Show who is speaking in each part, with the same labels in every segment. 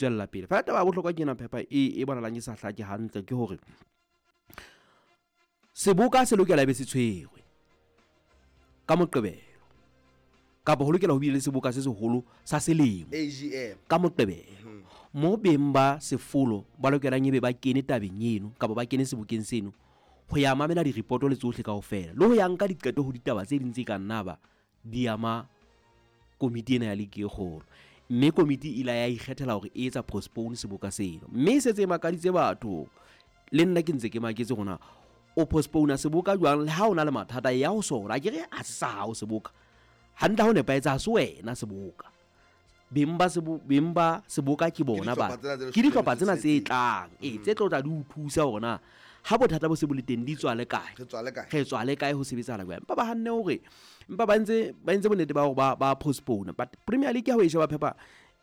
Speaker 1: Tswella pele. Fela taba ya bohlokwa ke ena Phepha e bonahalang e sa hlake hantle ke hore seboka se lokela be se tshwerwe ka Moqebelo kapa ho lokela ho bile le seboka se seholo sa selemo
Speaker 2: AGM
Speaker 1: ka Moqebelo mo beng ba sefolo ba lokelang ebe ba kene tabeng eno kapa ba kene sebokeng seno ho ya mamela diripoto le tsohle kaofela le ho ya nka diqeto ho ditaba tse ding tse ka nna ba di ama komiti ena ya ligi e kgolo. Mme komiti e ile ya ikgethela hore e etsa postpone seboka seno, mme e setse e makaditse batho. Le nna ke ntse ke maketse hore na o postpone seboka jwang le ha o na le mathata ya ho sona. Akere ha se sa hao seboka hantle, ha o nepahetse ha se wena seboka. Beng ba beng ba seboka ke bona ba
Speaker 2: dihlopha tsena tse
Speaker 1: ke dihlopha tsena tse
Speaker 2: tsheletseng.
Speaker 1: Tlang ee tse tlo tla di o thusa hore na ha bothata bo se bo le teng di tswa le kae,
Speaker 2: Re tswa le kae?
Speaker 1: Re tswa le kae, ho sebetsahala jwang. Empa ba hanne hore empa ba entse bonnete ba hore ba postpone. But Premier League ha o e sheba Phepa,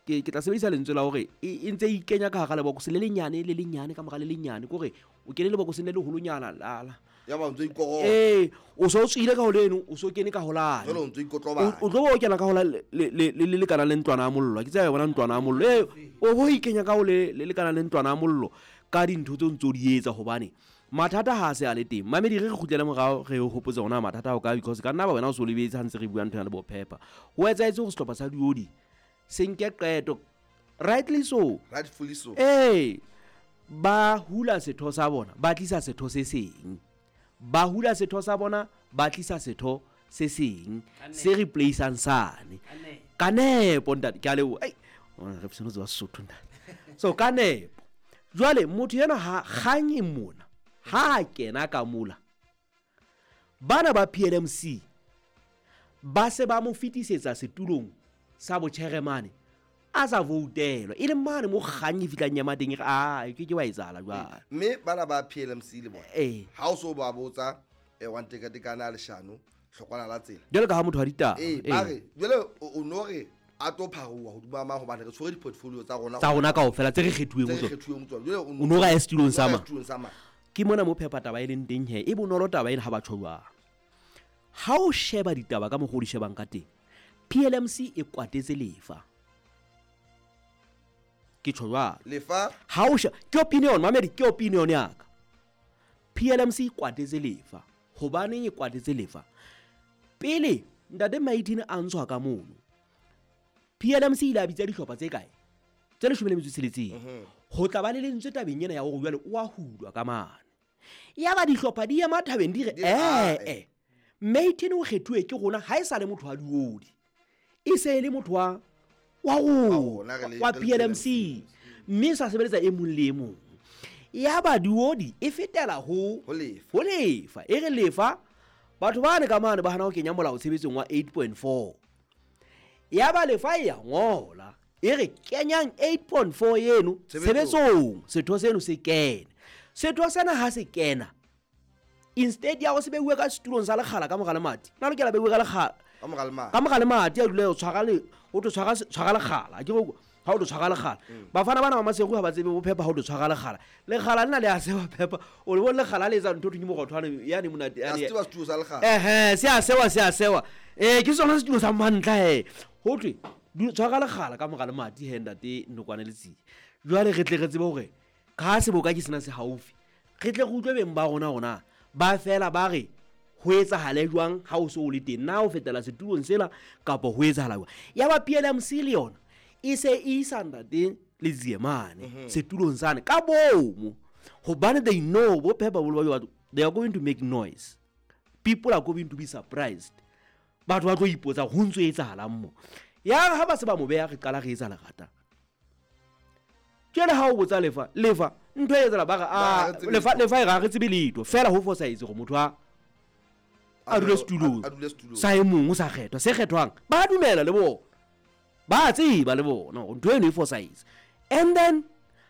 Speaker 1: ke tla sebedisa lentswe la hore e ntse e ikenya ka hara lebokose le lenyane le lenyane ka mora le lenyane, ke hore o kene lebokoseng le leholonyana la
Speaker 2: Ya ba o ntso ikorola.
Speaker 1: Ee, o so tswile ka ho leno, o so kene ka ho lane.
Speaker 2: Jwale o ntso ikotlobanya.
Speaker 1: O tlo bo o kena ka ho la le lekana le ntlwana ya mollo. Ke tseba bona ntlwana ya mollo ee, o bo ikenya ka ho le lekana le ntlwana ya mollo ka dintho tse o ntso di etsa, hobane mathata ha a se a le teng. Mamedi, re kgutlele morao, re o hopotse hore na mathata ao kae, because ka nna ba wena o so lebetse ha ntse re bua ntho ya le bophepa. Ho etsahetse hore sehlopha sa Diodi se nke qeto, rightly so.
Speaker 2: Rightfully so.
Speaker 1: Ee, ba hula setho sa bona, ba tlisa setho se seng, ba hula setho sa bona, ba tlisa setho se seng se replaceang sane ka nepo. Ntate, ke a leboha. Ai, re se tseba Sesotho, ntate. So ka nepo jwale motho ena ha kgang e mona ha a kena ka mola, bana ba PLMC ba se ba mo fetisetsa setulong sa botjheremane a sa voutelwa, e leng mane mo kgang e fihlang ya mateng e re a ke ke wa etsahala jwale.
Speaker 2: Mme bana ba PLMC le bona ha o so ba botsa wa ntekatekane a leshano hlokwana la tsela.
Speaker 1: Jwale ka ha motho wa ditaba.
Speaker 2: Ee, ba re jwale o no re a tlo pharuwa hodima mang, hobane re tshwere di-portfolio tsa rona
Speaker 1: tsa rona kaofela tse re kgethuweng
Speaker 2: tse
Speaker 1: ho
Speaker 2: re
Speaker 1: tsona.
Speaker 2: Kgethuweng ho tsona. Jwale
Speaker 1: O no re a ye setulong sa
Speaker 2: o no re a ye
Speaker 1: mang?
Speaker 2: Setulong sa mang?
Speaker 1: Ke mona mo Phepa taba e leng teng he, e bonolo taba ena ha batho jwang. Ha o sheba ditaba ka mokgwa o di shebang ka teng, PLMC e kwatetse Lefa, ke tjho jwalo.
Speaker 2: Lefa.
Speaker 1: Ha o sheba, ke opinion, mamedi, ke opinion ya ka. PLMC e kwatetse Lefa. Hobaneng e kwatetse Lefa? Pele ntate Maitin a ntshwa ka mono, PLMC ile a bitsa dihlopha tse kae, tse 16 ho tla ba le lentswe tabeng ena ya hore jwale o a hulwa ka mane. Ya ba dihlopha di ema thabeng di re
Speaker 2: Di re, "Ah,
Speaker 1: ee, Maitin o kgethuwe ke rona, ha e sa le motho wa Diodi, e se e le motho wa
Speaker 2: rona,
Speaker 1: rona wa
Speaker 2: re le
Speaker 1: PLMC, mme e sa sebeletsa e mong le e mong. Ya ba Diodi e fetela ho
Speaker 2: Ho Lefa.
Speaker 1: Ho Lefa, e re Lefa batho bane ka mane ba hana ho kenya molao tshebetsong wa 8.4. Ya ba Lefa e ya ngola e re kenyang 8.4 eno
Speaker 2: Tshebetsong.
Speaker 1: Tshebetsong, setho seno se kene. Setho sena ha se kena, instead ya go se beuwe ka setulong sa lekgala ka mora lemati, na lokela beuwe ka lekgala
Speaker 2: Ka mora lemati.
Speaker 1: Ka mora lemati, a dule o tshwara le o tlo tshwara lekgala. Ke go ha o tlo tshwara lekgala, bafana bana ba Maseru ha ba tsebe bo Phepa. Ha o tlo tshwara lekgala, lekgala lena le a sewa Phepa, o le bone lekgala le etsa ntho thwe ke mogothwane yane monate
Speaker 2: A
Speaker 1: yane.
Speaker 2: se tseba setulo sa lekgala.
Speaker 1: Ehe, se a sewa, se a sewa. Ee, ke sona setulo sa mantla he. Ho thwe tshwara lekgala ka mora lemati he, ntate Nokwane Letsie. Jwale re tle re tsebe hore ka seboka ke sena se haufi, re tle re utlwe beng ba rona rona ba fela ba re ho etsahale jwang ha o so o le teng, na o fetela setulong sela kapa ho etsahala jwang. Ya ba PLMC le yona e se e isa ntate Letsie mane setulong sane ka bomo, hobane they know bo Phepa bolo ba batho, they are going to make noise, people are going to be surprised, batho ba tlo ipotsa ho ntso etsahalang mo. Ya re ha ba se ba mo beha, re qala re etsa lerata. Jwale ha o botsa Lefa, Lefa ntho e etsala ba re
Speaker 2: Ba re,
Speaker 1: a
Speaker 2: "Ha re tsebe
Speaker 1: Lefa
Speaker 2: letho."
Speaker 1: Lefa e re ha re tsebe letho fela, ho fosahetse gore motho a dule setulong
Speaker 2: A dule setulong.
Speaker 1: Sa e mong o sa kgethwa, se kgethwang ba dumela le bona, ba tseba le bona hore ntho eno e fosahetse. And then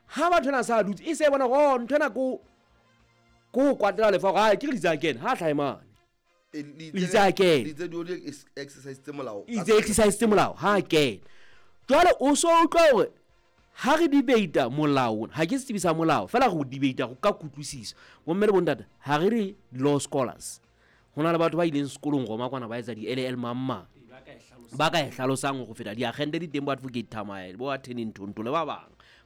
Speaker 1: ha batho ena sa dutse e se bona gore oh, ntho ena ko ho kwatela Lefa gore ke re litse a kene ha hlahe mane. Itse a kene.
Speaker 2: Litse Diodi exercise tse molao.
Speaker 1: Itse exercise tse molao ha a kena. Jwale o so utlwa hore ha re debata molao, ha ke setsebi sa molao, fela re o debata go ka kutlwisiso. Bomme le bontata, ha re re law scholars, ho na le batho ba ileng sekolong Roma kwana, ba etsa di-LL mang mang, ba ka e hlalosang go feta diagente di teng, bo Advocate Thamaele, bo attorney Nthonto le ba bang.